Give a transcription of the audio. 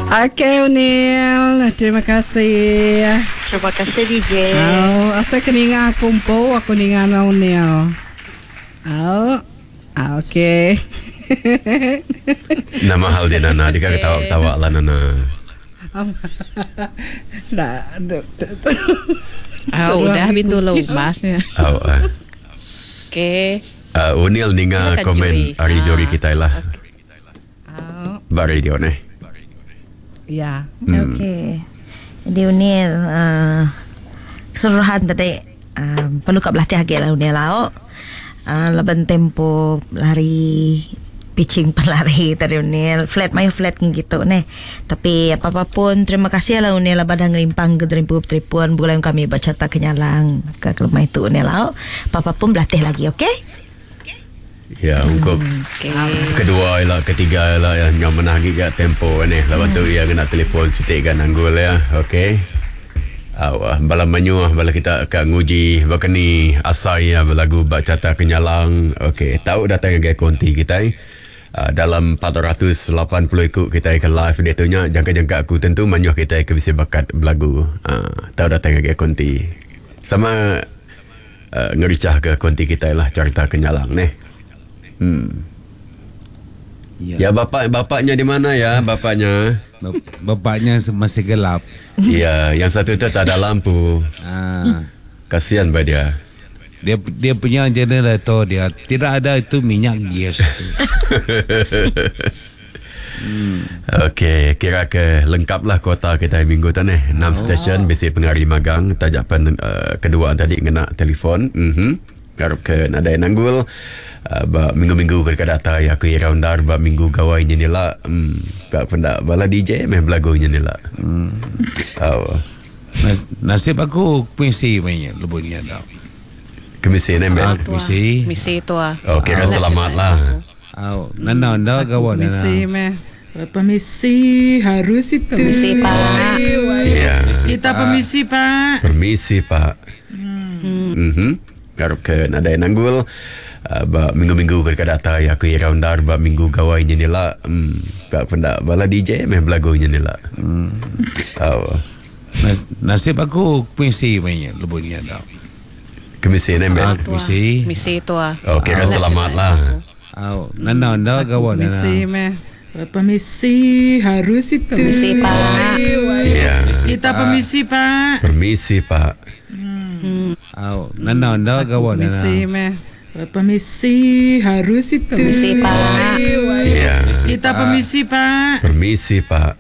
Okey Unil, terima kasih. Terima kasih DJ. Au, asai ke ninga aku empu aku ninga nuan Unil. Au. Okey. Nama hal dia Nana, deka ketawa-ketawa lah Nana. Dah. Au, udah bintu lumas nya. Au. Ah. Okey. Uh, Unil ninga komen ari juri kitai lah. Ba radio neh. Ya. Hmm. Okey. Jadi Unil uh, keseluruhan tadi uh, perlu ka belatih agi lah Unil lau. Uh, laban tempo lari pitching pan lari tadi Unil flat mayuh flat ngin gitu neh. Tapi apa-apa pun terima kasih lah Unil laban dah ngelimpang ke derimpu telefon begulai kami ba Carta Kenyalang ke kelemai tu Unil lau. Apa-apa pun belatih lagi okey. Ya ungkup kedua ila ketiga ila ya nyau manah agi ga tempo nih laban tu iya ngena telefon siti ga nanggul iya okey. Au bala mayuh bala kita ka nguji baka ni asai iya belagu ba Carta Kenyalang okey tau datai ngagai konti kitai uhh dalam 480 iku kitai ke live diatu nya jangka-jangka aku tentu mayuh kitai ke bisi bakat belagu uhh tau datai ngagai konti sama Ngerichah ke konti kitai lah carita ke nyalang neh. Hmm. Ya, ya bapak bapaknya di mana ya bapaknya? Bapaknya masih gelap. Ya, yang satu tu tak ada lampu. Ah. Kasihan ba dia. Dia dia punya generator dia tidak ada itu minyak gas itu. Hmm. Okey, kira ke lengkap lah kuota kita minggu tu ni. 6 oh. stesen bisi pengari magang taja pen uh, kedua tadi ngena telefon. Mhm. Mm Ngarap ke nadai nanggul uh, ba minggu-minggu ke deka datai aku irau endar ba minggu gawai nyin ila. Hmm, ka penda bala DJ meh belagu nyin ila. Hmm. Au. Nasib aku kemisi meh lebuh nya tau. Kemisi ne meh. Ah, kemisi. Kemisi tua. Oh, kira selamat lah. Au, nanda enda gawa nana. Permisi meh. Permisi harus itu. Permisi pak. Ya. Kita permisi pak. Permisi pak. Hmm. Mhm. Ngarap ke nadai nanggul uh, ba minggu-minggu ke deka datai aku irau endar ba minggu gawai nyin ila. Hmm, ka penda bala DJ meh belagu nyin ila. Hmm. Au. Nasib aku kemisi meh nya lebuh nya tau. Kemisi ne meh. Ah, kemisi. Misi tua. Oh, kira selamat lah. Au, nanda enda gawa nana. Permisi meh. Permisi harus itu. Permisi pak. Ya. Kita permisi pak. Permisi pak. Hmm. Au, nanda enda gawa nana. Permisi meh. Permisi harus itu. Permisi pak. Ya. Kita permisi pak. Permisi pak.